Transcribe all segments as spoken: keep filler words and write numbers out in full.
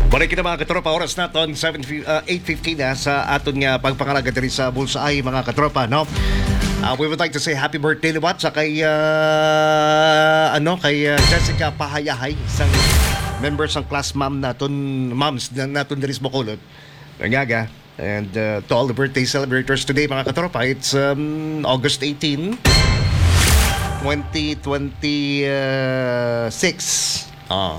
Balik kita, mga katropa, oras naton seven, ah, eight fifteen na sa aton nga pagpangalagad diri sa Bullseye, mga katropa, no? Ah, we would like to say happy birthday liwat sa kay, ah, ano, kay, ah, Jessica Pahayahay, isang member sang class ma'am naton, moms na naton diri sa Bacolod. Nangaga. And, uh, to all the birthday celebrators today, mga katropa, it's, um, August eighteen, twenty twenty-six. Ah.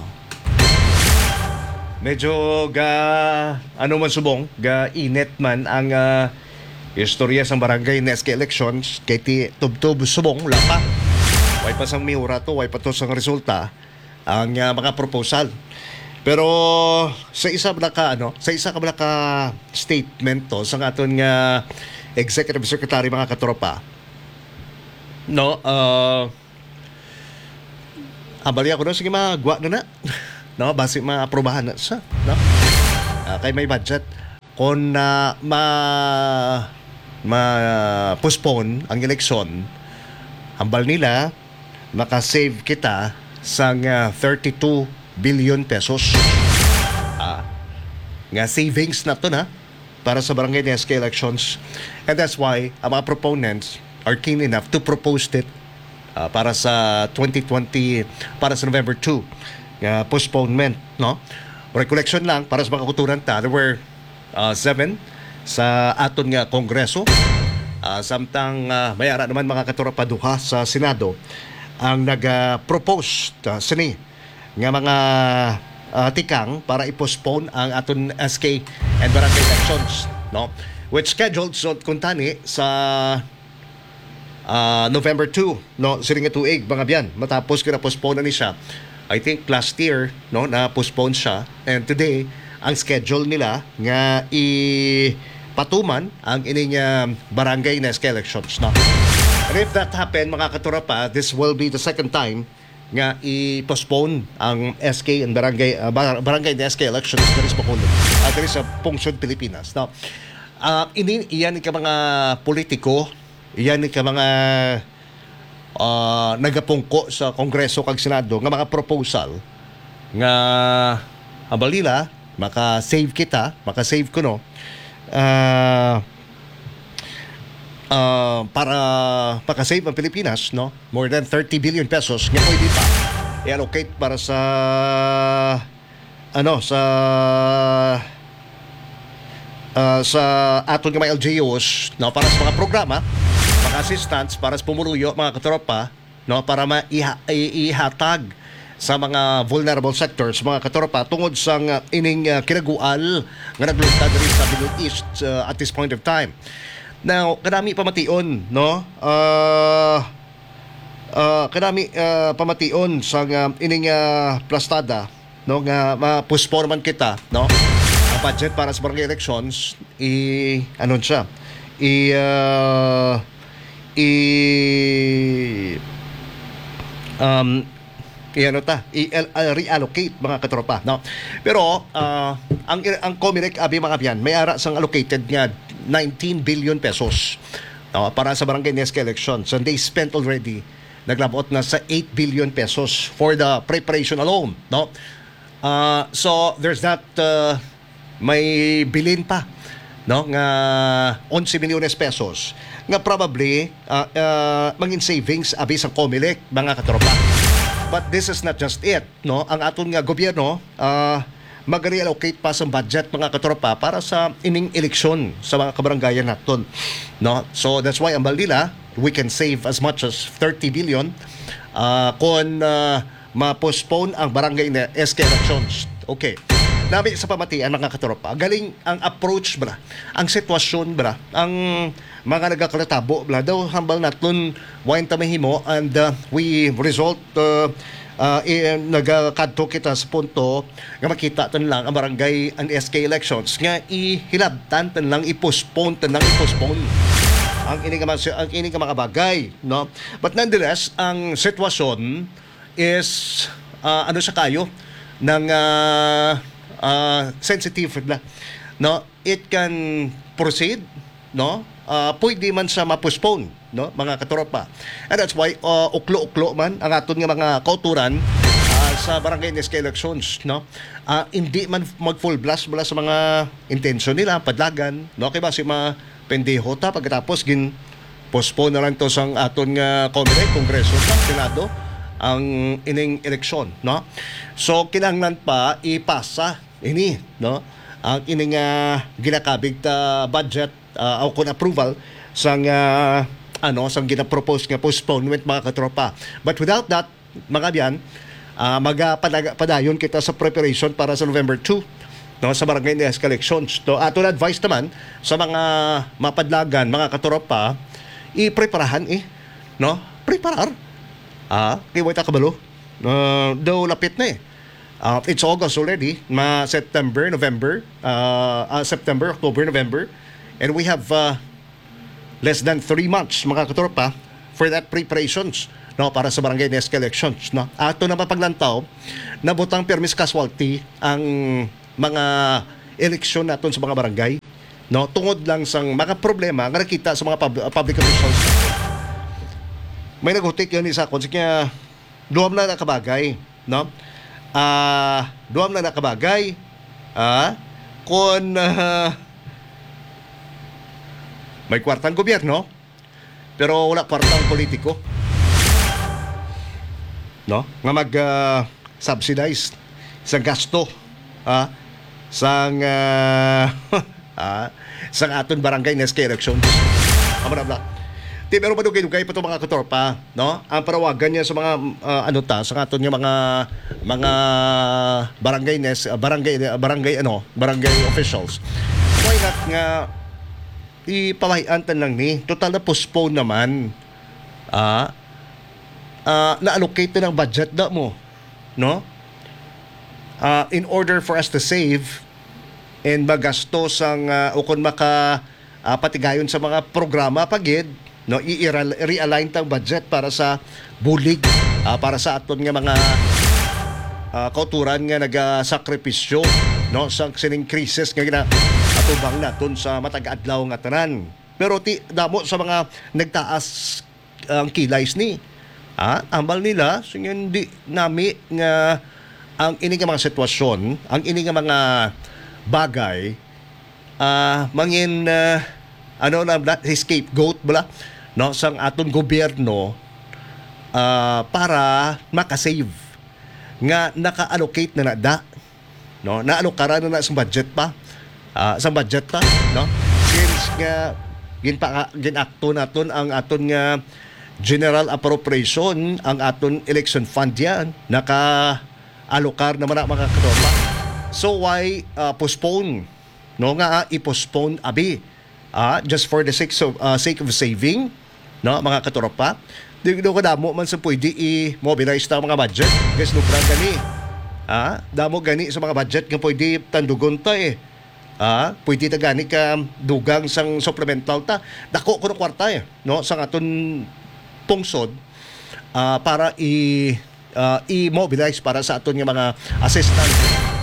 Medyo ga, ano man subong, ga init man ang, ah, istorya sang barangay ni S K elections kay ti tubtob subong, wala pa. Way pa sang mihura to, way pa to sang resulta ang, ah, mga proposal. Pero sa isa bala ka, ano, sa isa ka bala ka statement to sa aton nga executive secretary, mga katropa, no, ah, abali ako, no, sige, magwa na na. No, basi maaprobahan na siya, no? Ah, kay may budget. Kung, ah, ma ma-postpone ang eleksyon, hambal nila, makasave kita sang, ah, thirty-two billion pesos. Ah, nga savings na to na para sa barangay ni S K elections. And that's why ang mga proponents are keen enough to propose it, ah, para sa twenty twenty, para sa November two nga postponement, no? Recollection lang para sa mga kauturan ta, there were, ah, seven sa aton nga Kongreso. Ah, samtang, ah, may ara naman, mga katropa, duha sa Senado ang nag-propose, ah, sini nga mga, ah, tikang para i-postpone ang aton S K and barangay elections, no? Which scheduled, so, kuntani sa, ah, November two, no, sining nga tuig, mga byan, matapos kina-postpone na ni siya. I think last year, no, na-postpone siya, and today ang schedule nila nga ipatuman ang ining, ah, barangay ni S K elections, no. And if that happen, mga katropa, this will be the second time nga i-postpone ang S K and barangay, ah, bar-, barangay ni S K elections diri sa Bacolod, ah, diri sa pungsod Pilipinas, no. Ah, ini, iyan ka mga politiko, iyan ka mga, ah, nagapungko sa Kongreso kag Senado nga mga proposal nga, ah, balila, maka-save kita, maka-save kuno, ah, ah, para maka-save ang Pilipinas, no? More than thirty billion pesos nga pwede pa i-allocate para sa, ano, sa, ah, sa aton nga mga L G Us, no, para sa mga programa, mga assistance para sa pumuluyo, mga katropa, no, para ma-, iha-, i-, ihatag sa mga vulnerable sectors, mga katropa, tungod sa nga ining, ah, kinagual nga naglunta diri sa Middle East, ah, at this point of time. Now, kadami pamation, no? Ah, ah, kadami, ah, pamation sa nga ining, ah, plastada, no, nga ma-postpone man kita, no? Ang budget para sa barangay elections, i-, ano siya? I, ah, i, um, i-, ano ta? I-, ah, reallocate, mga katropa, no? Pero, ah, ang, ang Comelec, abi, mga byan, may ara sang allocated nga nineteen billion pesos, no, para sa barangay ni S K elections. And they spent already, naglabot na sa eight billion pesos for the preparation alone, no? Ah, so, there's that, uh, may bilin pa, no, nga onse milyones pesos nga probably, ah, ah, mangin savings abi sang Comelec, mga katropa. But this is not just it, no? Ang aton nga gobyerno, ah, mag-reallocate pa sa budget, mga katropa, para sa ining eleksyon sa mga kabarangayan naton, no? So that's why ang balila, we can save as much as thirty billion, ah, kung, ah, ma-postpone ang barangay na S K elections. Okay. Nami sa pamatian, mga katropa. Galing ang approach, bra. Ang sitwasyon, bra. Ang mga nagakalatabo, bra. Daw hambal naton, wain ta mahimo, and, uh, we result, uh, uh, i-, nagakadto kita sa punto nga makita tan lang ang barangay and S K elections nga ihilabtan tan lang, i-postpone tan lang, i-postpone ang ini nga mga, ang ini nga mga bagay, no? But nonetheless, ang sitwasyon is, ah, ano sa kayo, ng, ah, ah, sensitive na, no? It can proceed, no? Ah, pwede man sa ma-postpone, no, mga katropa. And that's why, ah, uklo-uklo man ang aton nga mga kauturan, ah, sa barangay N S K elections, no? Ah, hindi man mag-full blast mula sa mga intensyon nila, padlagan, no? Kay basi ma-pendeho ta pagkatapos gin postpone na lang to sang aton nga Comelec, Kongreso, sa Senado, ang ining eleksyon, no? So, kinahanglan pa ipasa ini, no? Ang ining, ah, ginakabig ta budget, ah, o kun approval sang, ah, ano, sang ginapropose nga postponement, mga katropa. But without that, mga abyan, ah, magapadaga-, padayon kita sa preparation para sa November two, no, sa barangay N S K elections. To, aton advice naman sa mga mapadlagan, mga katropa, ipreparahan, eh, no? Preparar. Ah, kay way ta kabalo. Ah, daw lapit na, eh. Ah, it's August already, ma September, November, ah, ah, September, October, November, and we have, ah, less than three months, mga katropa, for that preparations, no, para sa barangay N S K elections, no. Ato na mapaglantaw, nabutang permis casualty ang mga eleksyon naton sa mga barangay, no, tungod lang sang mga problema nga nakita sa mga pub-, public officials. May naghutik yun isa, kung sige, duha na nakabagay, no? Ah, duha na nakabagay. Ah, kung, ah, may kwartang gobyerno, pero wala kwartang politiko, no? Nga mag, ah, subsidize sa gasto, ah, sang, ah, ah, sang aton barangay N S K elections. Amo na, bla. Ti, pero madugay-dugay pa to, mga katropa, no? Ang panawagan niya sa mga, ah, ano ta, sa aton nga mga, mga barangay N S, ah, barangay, barangay, ano, barangay officials. Why not nga ipamahian ta lang ni? Total na postpone naman. Ah, ah, na-allocate na ang budget na mo, no? Ah, in order for us to save and magasto sang, ah, o kung maka, ah, patigayon sa mga programa pa gid, no, i-, i-, realign tang budget para sa bulig, ah, para sa aton nga mga, ah, kauturan nga nagasakripisyo, no, sa sining krisis nga ginaatubang naton sa matag adlaw nga tanan. Pero ti, damo sa mga nagtaas ang kilay sini. Ah, ambal nila, singin di nami nga ang ini nga mga sitwasyon, ang ini nga mga bagay, ah, mangin, ah, ano na, na, scapegoat bala, no, sang aton gobyerno, ah, para makasave nga naka-allocate na na da, no? Naalokaran na na sa budget pa. Ah, sa budget pa, no? Since nga ginpa-, ginakto naton ang aton nga general appropriation, ang aton election fund yan, naka-alokar naman na, mga katropa. So why, ah, postpone, no? Nga, ah, i-postpone abi, ah, just for the sake of, ah, sake of saving, no, mga katropa? Di, di ko damo man sa pwede i-mobilize ta ang mga budget. Guys, lubra gani. Ah, damo gani sa mga budget nga pwede tandugon ta, eh. Ah, pwede ta gani ka dugang sang supplemental ta. Dako kuno kwarta, eh, no, sang aton pungsod, ah, para i-, ah, i-mobilize para sa aton nga mga assistance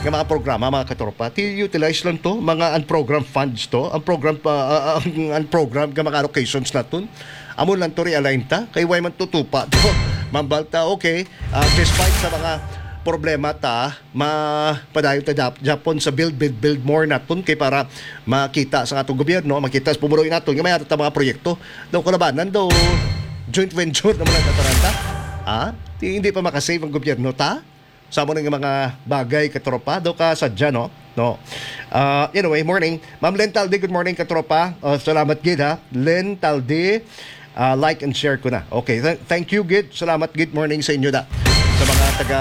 nga mga programa, mga katropa. Ti-utilize lang to, mga unprogrammed funds to, ang program pa, ah, ah, ang unprogrammed nga mga allocations naton. Amo lang to realign ta, kay way man tutupa to. Mambal ta, okay, ah, despite sa mga problema ta, mapadayon ta dap-, Japon sa build, build, build more naton kay para makita sa atong gobyerno, makita sa pumuloy naton nga may ato ta mga proyekto. Daw kalabanan daw, joint venture naman ang tataranta. Ah, di, hindi pa makasave ang gobyerno ta sa amo nga mga bagay, katropa. Daw ka sadya, no? No. Ah, anyway, morning. Ma'am Len Taldi, good morning, katropa. Oh, salamat gid, ha. Len Taldi, ah, like and share ko na. Okay, th-, thank you gid. Salamat gid, morning sa inyo da. Sa mga taga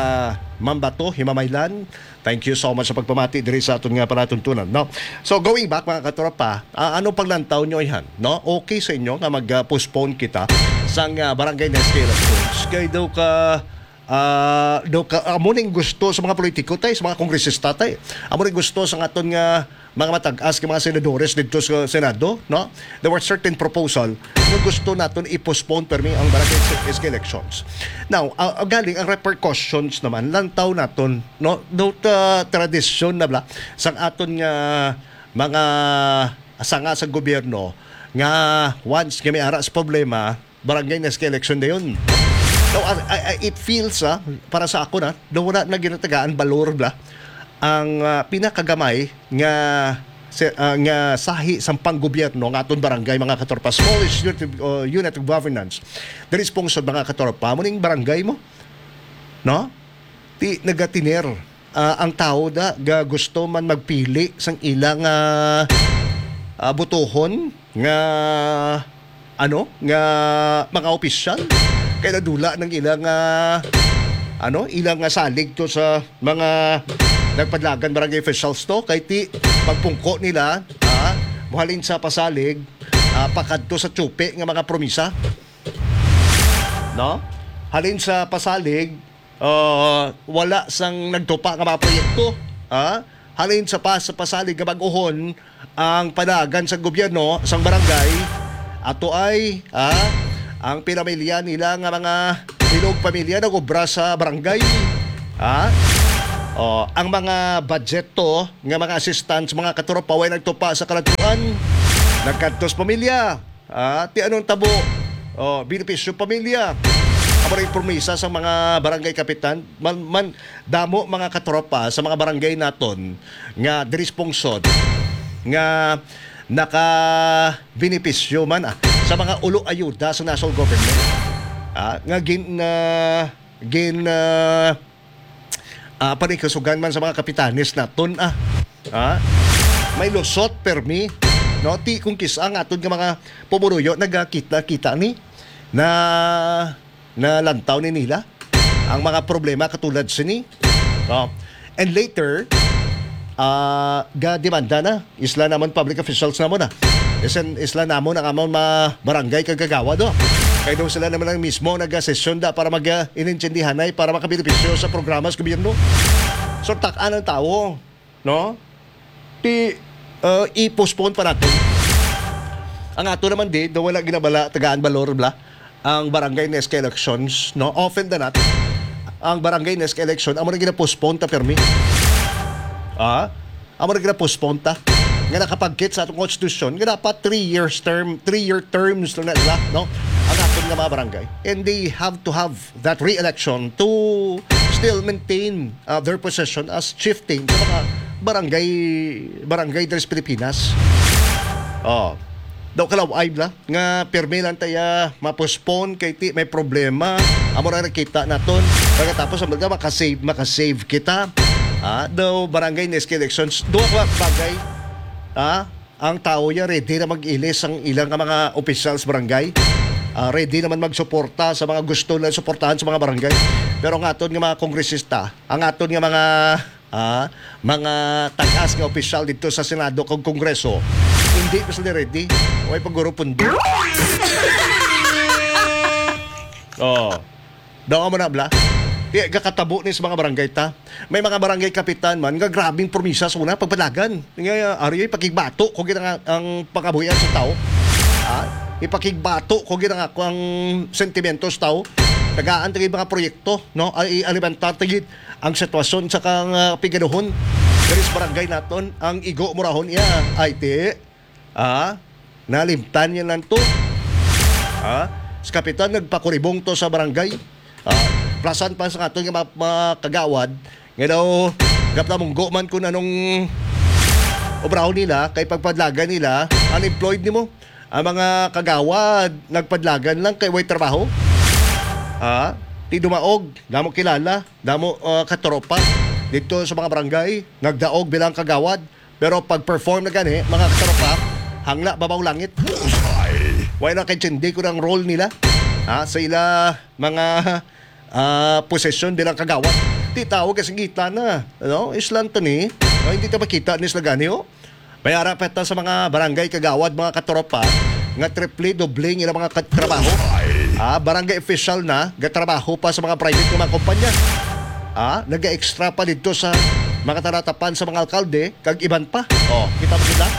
Mambato, Himamaylan, thank you so much sa pagpamati diri sa aton nga palatuntunan, no? So, going back, mga katropa, ah, ano paglantaw nyo, ihan, no? Okay sa inyo nga mag-postpone kita sang, ah, barangay N S K elections? Kay daw ka, ah, daw ka, amo ning gusto sa mga politiko, tay, sa mga kongresista, tay. Amo ning gusto sa aton nga mga matag-as nga mga senadores didto sa Senado, no? There were certain proposal nga gusto naton i-postpone permi ang barangay S K elections. Now, ah, ah, galing ang repercussions naman, lantaw naton, no? Daw ta-, tradisyon na bala sang aton nga mga sanga sa gobyerno nga once nga may ara sa problema, barangay N S K election dayon. Now, I, I, I- it feels, ah, para sa ako na, na wala na ginatagaan balor bla ang, ah, pinakagamay nga se- ah, nga sahi sang panggobyerno nga aton barangay, mga katropa, smallest unit of, uh, unit of governance. Diri sa pungsod, mga katropa, mo ning barangay mo, no? Ti nagatiner, ah, ang tawo da ga gusto man magpili sang ilang, ah, ah, butuhon nga, ano, nga mga opisyal, kay nadula ng ilang, ah, ano, ilang, ah, salig to sa mga nagpadlagan barangay officials to, kay ti pagpungko nila, ah, muhalin sa pasalig, ah, pakadto sa tsupi nga mga promisa, no? Halin sa pasalig, ah, wala sang nagtupa nga mga proyekto, ha? Halin sa pas-, pasalig nga bag-ohon ang panagan sa gobyerno sang barangay, ato ay, ha, ang pinamilya nila nga mga bilog pamilya nag-obra sa barangay, ha? Oh, ang mga budget to nga mga assistance, mga katropa, way nagtupa sa kalagtuan, nagkadtos pamilya. Ah, ti anong tabo? Oh, benepisyo pamilya. Amo rin promisa sa mga barangay kapitan. Man, man, damo mga katropa sa mga barangay naton nga diri sa pungsod nga naka-benepisyo man, ah, sa mga ulo ayuda sa national government. Ah, nga gin, ah, gin, ah, ah, paningkasugan man sa mga kapitanes naton, ah. Ah, may lusot permi, no? Ti kung kis-a nga aton nga mga pumuruyo nagakita-kita ni na nalantaw ni nila ang mga problema katulad sini. Oh. And later, ah, ga demanda na isla namon public officials namon na. Isan isla namon ang amon mga barangay kag kagawad, oh. Kay daw sila naman ang mismo nagasesyon da para mag, ah, inintindihanay para makabenepisyo sa programa sa gobyerno. So, tak-an ang tawo, no? Ti, ah, i-postpone pa natin. Ang ato naman di, daw wala ginabala, tagaan balor, bla, ang barangay N S K elections, no? Often than not, ang barangay N S K election, amo na gina-postpone ta permi. Ah? Amo na gina-postpone ta. Nga nakapagkit sa atong konstitusyon, nga dapat three years term, three-year terms lang na sila, no? Ang aton nga mga barangay. And they have to have that re-election to still maintain, uh, their position as chieftain sa mga barangay, barangay diri sa Pilipinas. Oh. Daw kalaw-ay bla nga pirmi lang taya ma-postpone kay ti may problema. Amo ra nakita naton. Pagkatapos ang mga makasave, makasave kita. Ah, daw barangay N S K elections. Duha ka bagay. Ah, ang tao ya ready na mag-ilis ang ilang nga mga opisyal sa barangay. Ah, ready naman magsuporta sa mga gusto na suportahan sa mga barangay. Pero ang aton nga mga kongresista, ang aton nga mga, ah, mga tagas nga opisyal dito sa Senado kag Kongreso, hindi pa sila ready. Way paguro pundo. Oh. Daw mo na, bla? Di, gakatabo ni sa mga barangay ta. May mga barangay kapitan man nga grabing promisa sa una, pagpadagan. Nga, ari, ipakigbato ko gid ang, ang pangabuhian sa tao. Ha? Ipakigbato ko gid ang ako ang sentimento sa tao. Tagaan ta gid mga proyekto, no? Ay, alimentar ta gid ang sitwasyon sa kang, ah, pigaduhon. Diri sa barangay naton, ang igo murahon iya, ay, ti. Ah, nalimtan niya lang to. Ah, sa kapitan, nagpakuribong to sa barangay. Ah, plasan pa sa aton nga mga, mga kagawad, nga daw, gaplamunggo man kung anong obrahon nila, kay pagpadlagan nila, unemployed nimo. Ang mga kagawad, nagpadlagan lang kay way trabaho. Ah, ti dumaog, damo kilala, damo, ah, katropa dito sa mga barangay, nagdaog bilang kagawad. Pero pag-perform na gani, mga katropa, hangla babaw langit. Bullseye! Wala na kay Chindi kung ang role nila, ha, sa ila mga, ah, posisyon bilang kagawad. Di tao kasi ngita na, no? Islan to ni, no? Hindi ta makita ni sila gani, oh. May ara pa ta sa mga barangay kagawad, mga katropa, nga triple, doble ang ilang mga kat-, trabaho. Ah, barangay official na, gatrabaho pa sa mga private nga mga kumpanya. Ah, naga-extra pa dito sa mga talatapan sa mga alkalde, kag iban pa. Oh, kita mo sila?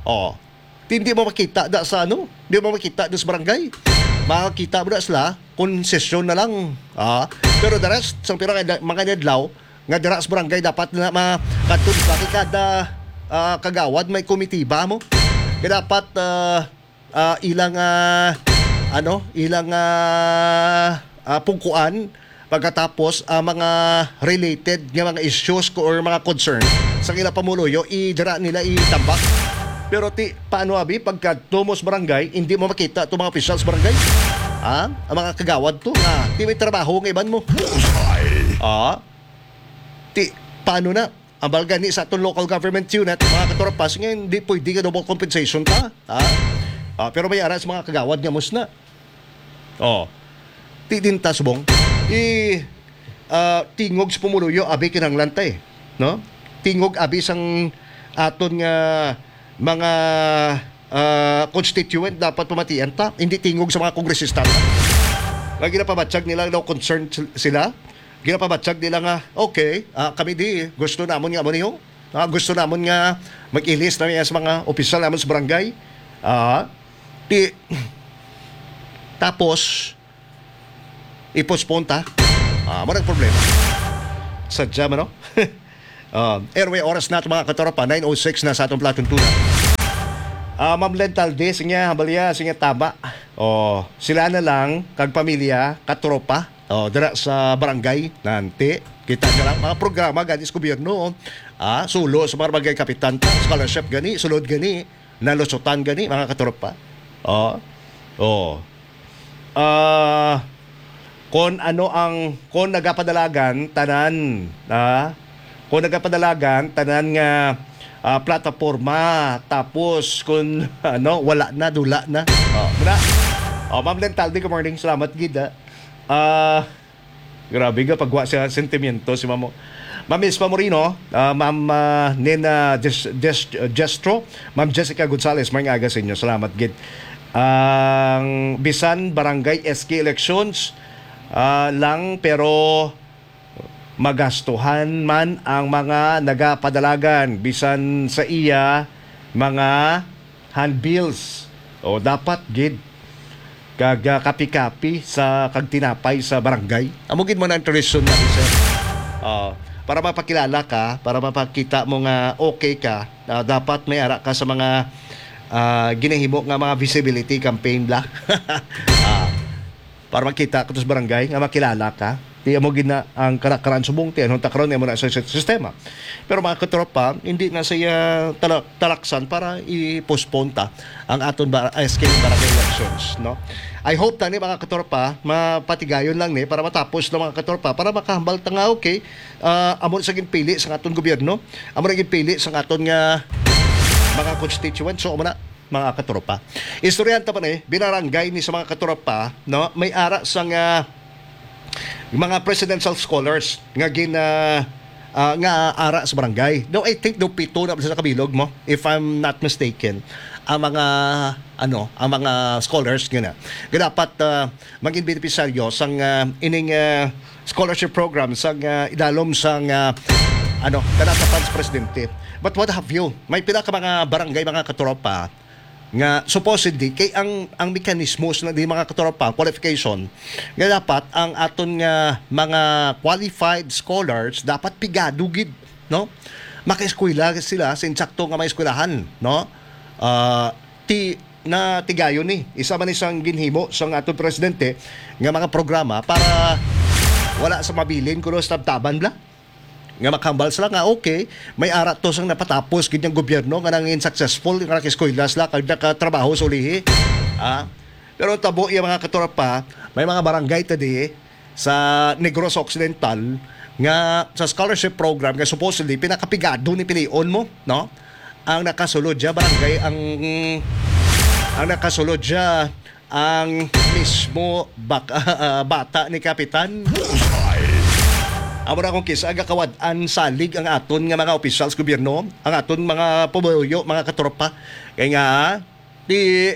Oh. Hindi mo makita da sa ano? Hindi mo makita da sa barangay. Makakita mo da sila, konsesyon na lang. Ah, pero the rest, sa pira nga mga adlaw, nga dira sa barangay dapat na makadto sa kada, ah, kagawad may komitiba mo. Kaya dapat, ah, ah, ilang, ah, ano, ilang, ah, ah, pungkuan, pagkatapos ang mga related nga mga issues ko or mga concern sa ila pumuluyo, i-, dira nila itambak. Pero ti, paano abi pagkadto mo sa barangay, hindi mo makita to mga officials barangay? Ha? Ang mga kagawad to, nga ti may trabaho nga iban mo. Ah? Ti, paano na? Ambal gani sa aton local government unit, mga katropa, nga hindi pwede nga double compensation ta. Ha? Ah, pero may ara sa mga kagawad nga musna. Oh. Ti din ta subong. I, ah, tingog sa pumuluyo, abi kinahanglan ta eh. No? Tingog abi sang aton nga mga, ah, constituent dapat pamatian ta. Hindi tingog sa mga kongresista ta. Nga ginapabatyag nila daw concerned sil-, sila. Ginapabatyag nila nga, "Okay, ah, kami di, gusto namon nga amo niyo. Ah, gusto namon nga mag-ilis na sa mga opisyal namon sa barangay." Ah, di, tapos, i-postpone ta. Ah, mo nang problema. Sadya man, no? Ah, anyway, oras na, mga katropa, nine oh six na sa atong palatuntunan. Ah, Ma'am Lentalde, sinya, balya, sinya tama. Oh, sila na lang, kag pamilya, katropa. Oh, dira sa barangay, nanti. Kita nyo lang, mga programa, gani sa gobyerno, oh. Ah, sulo sa mga barangay kapitan, ta, scholarship gani, sulod gani, nalusutan gani, mga katropa. Oh, oh. Ah, kon ano ang, kon nagapadalagan, tanan, ah, kon nagapadalagan, tanan nga, ah, plataporma, tapos kun, ano, wala na, dula na. Oh, muna. Oh, Ma'am Lentaldi, good morning. Salamat gid, ah. Ah, grabe nga pagwa sa sentimiento si Mamo. Ma'am Ispa Moreno, ah, Ma'am, ah, Nena Des-, Des-, Destro, Ma'am Jessica Gonzalez, may aga sa inyo. Salamat gid. Ang bisan barangay S K elections, ah, lang, pero magastuhan man ang mga nagapadalagan bisan sa iya mga handbills. O dapat gid kag, ah, kapi-kapi sa kag tinapay sa barangay. Amo gid man ang tradisyon natin, sir. Ah, para mapakilala ka, para mapakita mo nga okay ka, ah, dapat may ara ka sa mga, ah, ginahimo nga mga visibility campaign bla. Ah, para makita ka to sa barangay nga makilala ka. Di amo gid na ang karakteran subong ti anong takron imo na sa sis-, sistema. Pero mga katropa, hindi na siya tala-, talaksan para i-postpone ta ang aton ba-, S K barangay elections, no? I hope tani mga katropa, mapatigayon lang ni para matapos na mga katropa, para makahambal ta nga okay, ah, amo sa ginpili sa aton gobyerno, amo na ginpili sa aton nga mga constituents, so amo na. Mga katropa. Istoryahan ta pa ni, binarangay ni sa mga katropa, no? May ara sang, ah, mga presidential scholars nga gin, ah, ah, nga ara sa barangay. No, I think do pito na sa kabilog mo, if I'm not mistaken, ang mga, ano, ang mga scholars nga na. Nga dapat, ah, maging benepisaryo sang, ah, ining, ah, scholarship program sang, ah, idalom sang, ah, ano, kanatapan sa presidente. But what have you? May pila ka mga barangay, mga katropa, nga supposedly kay ang, ang mechanismos na di, mga katropa, qualification nga dapat ang aton nga mga qualified scholars dapat pigado gid, no? Makaeskwela sila sa insakto nga mga eskwelahan, no? Ah, ti na tigayon ni isa man isang ginhimo sang aton presidente nga mga programa para wala sa mabilin kuno sa tabtaban bla. Nga makahambal sila nga, okay, may ara to sang napatapos gid ang gobyerno nga nangin successful, nga nakiskwela sila kag nakatrabaho sa ulihi. Ah, pero tabo iya, mga katropa, may mga barangay ta di sa Negros Occidental nga sa scholarship program nga supposedly pinakapigado ni pilion mo, no? Ang nakasulod siya barangay ang, ang nakasulod siya ang mismo bak-, ah, bata ni Kapitan. Amo na kung kisa gakawad-an salig ang aton nga mga opisyal sa gobyerno, ang aton mga pumuyo, mga katropa. Kay nga, di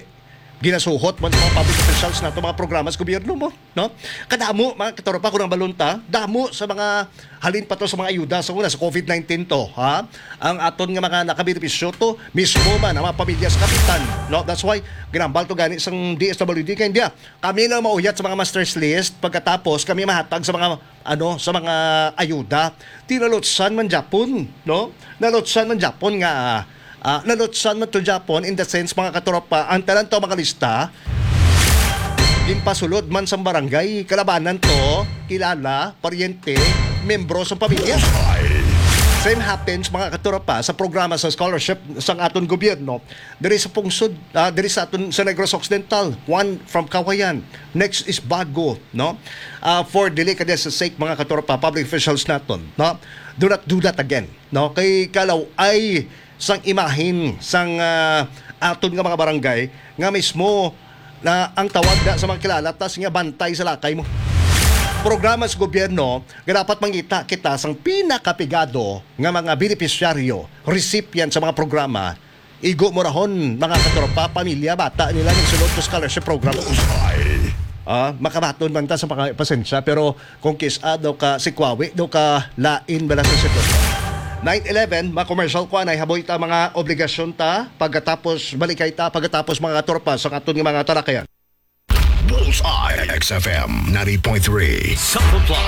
ginasuhot man sa mga public officials nato mga programa sa gobyerno mo, no? Kadamo, mga katropa, kung ang balon ta, damo sa mga halin pa to sa mga ayuda sa una, sa covid nineteen to, ha? Ang aton nga mga nakabenepisyo to, mismo man ang mga pamilya sa kapitan, no? That's why ginambal to gani sang D S W D kay India. Kami lang mauyat sa mga master's list, pagkatapos kami mahatag sa mga, ano, sa mga ayuda. Tinalutsan man Japon, no? Nalutsan man Japon nga, ah, nalutsan man to Japon in the sense, mga katropa, ang tanan to mga lista, Ginpasulod man sang barangay, kalabanan to, kilala, paryente, membro sa pamilya. Same happens, mga katropa, sa programa sa scholarship sang aton gobyerno diri sa pungsod, ah, diri sa aton sa Negros Occidental. One from Cauayan, next is Bago, no? Ah, for delicatesse sake, mga katropa, public officials naton, no? Do not do that again, no? Kay kalaw-ay sang imahin sang, ah, aton nga mga barangay nga mismo na ang tawag na sa mga kilala tas nga bantay sa lakay mo. Programa sa gobyerno nga dapat mangita kita sang pinakapigado nga mga benepisyaryo, recipient sa mga programa. Igo mo rahon, mga katropa, pamilya, bata nila nagsulod sa scholarship program. Ah, makabaton man ta sa mga pasensya, pero kung kis-a daw ka sikwawi, daw ka lain bala sa sitwasyon. Nine eleven, mga commercial ko, anay haboy ta mga obligasyon ta, pagkatapos balikay ta, pagkatapos, mga katropa, sa aton nga mga talakayan. Bullseye, X F M ninety point three. Sa Pabla